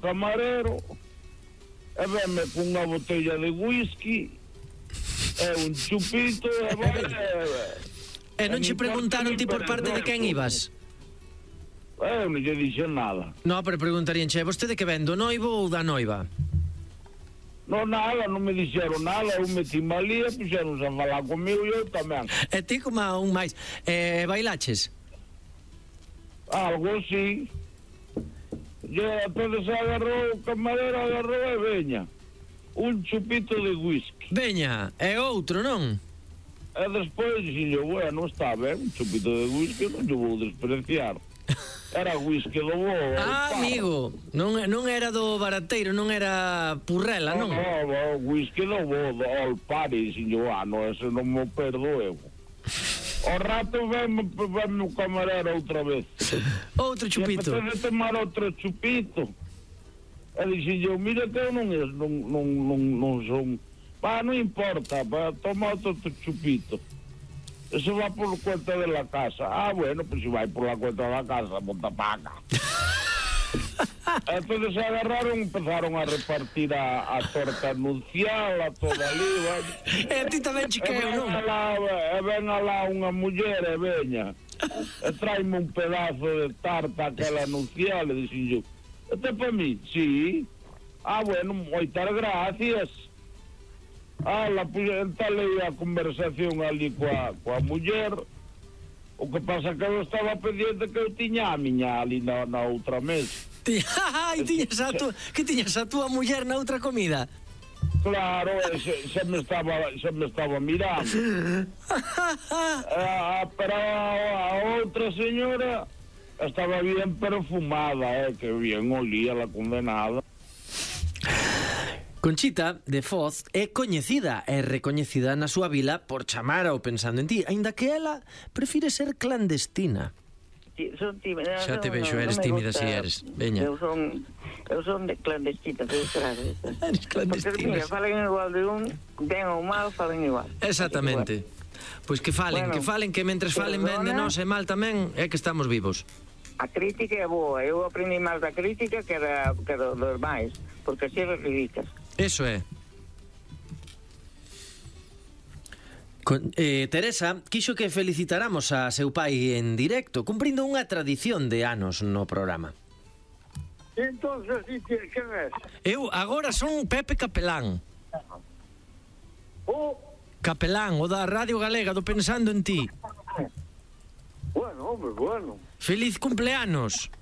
camarero e venme cunha botella de whisky e un chupito e E non che preguntaron ti por parte de quen ibas? Eu non lle dixen nada. No, pero preguntarían, che, vostede que ven, do noivo ou da noiva? Non nada, non me dixeron nada, eu meti malía, puxeronse a falar comigo e eu tamén. E ti como un máis, bailaches? Algo así. E entonces agarrou o camarero, agarrou e veña. Un chupito de whisky. Veña, e outro, non? E despois dixen, bueno, está ben, un chupito de whisky, non lle vou despreciar. Era whisky do bo. Amigo, non era do barateiro, non era purrela, non? No, whisky do bo, do All Party, dixen, no, ese non me perdo eu. O rato veme o camarero outra vez. Outro chupito. E empecé a tomar outro chupito. E dixen eu, mira que eu non son... non importa, toma outro chupito. Eso va por cuenta de la casa. Bueno, pues si va por la cuenta de la casa, monta paga. Entonces se agarraron, empezaron a repartir a torta anuncial, a toda aliva. E a ti tamén chiqueo, non? E ven alá unha muller e veña. E traime un pedazo de tarta aquela anuncial, e dixen yo, este é para mí? Sí. Bueno, moitas gracias. Entalei a conversación ali coa muller. O que pasa que eu estaba pendiente que eu tiña a miña ali na outra mesa. Ai, que tiñas a túa muller na outra comida? Claro, se me estaba mirando. Pero a outra señora estaba bien perfumada, que bien olía la condenada. Conchita de Foz é coñecida e recoñecida na súa vila por chamar ao Pensando en Ti, aínda que ela prefire ser clandestina. Son tímida. Xa te vexo, eres tímida si eres. Veña. Eu son de clandestina, claro. Eres clandestina. Porque, mira, falen igual de un, ben ou mal, falen igual. Exactamente. Pois que falen, que mentres falen ben de nós e mal tamén, é que estamos vivos. A crítica é boa, eu aprendi máis da crítica que dos máis, porque así recibicas. Eso é. Teresa quixo que felicitáramos a seu pai en directo, cumprindo unha tradición de anos no programa. Entonces, que ves? Eu agora son Pepe Capelán. Capelán, o da Radio Galega, do Pensando en Ti. Bueno, hombre, bueno. Feliz cumpleanos.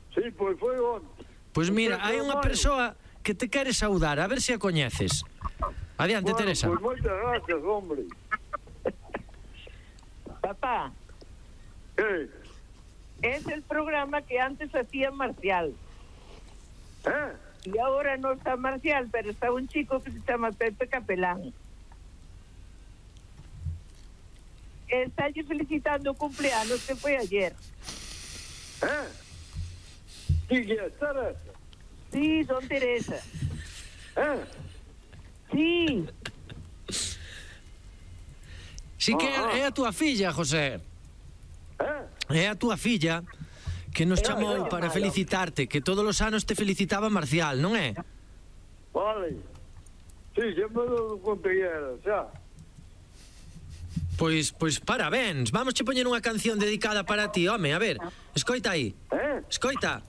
Sí, pois foi onte. Pois mira, hai unha persoa que te quere saudar, a ver se a coñeces. Adiante, Teresa. Pois moitas gracias, hombre. Papá. Es el programa que antes hacía Marcial. Y ahora no está Marcial, pero está un chico que se llama Pepe Capelán. Está allí felicitando o cumpleaños que foi ayer. Sí, que é Teresa? Sí, son Teresa. Sí. Sí que é a túa filla, José. É a túa filla que nos chamou para felicitarte, que todos os anos te felicitaba Marcial, non é? Vale. Sí, sempre lo contei, xa. Pois parabéns. Vamos che poñer unha canción dedicada para ti, home, a ver. Escoita aí. Escoita.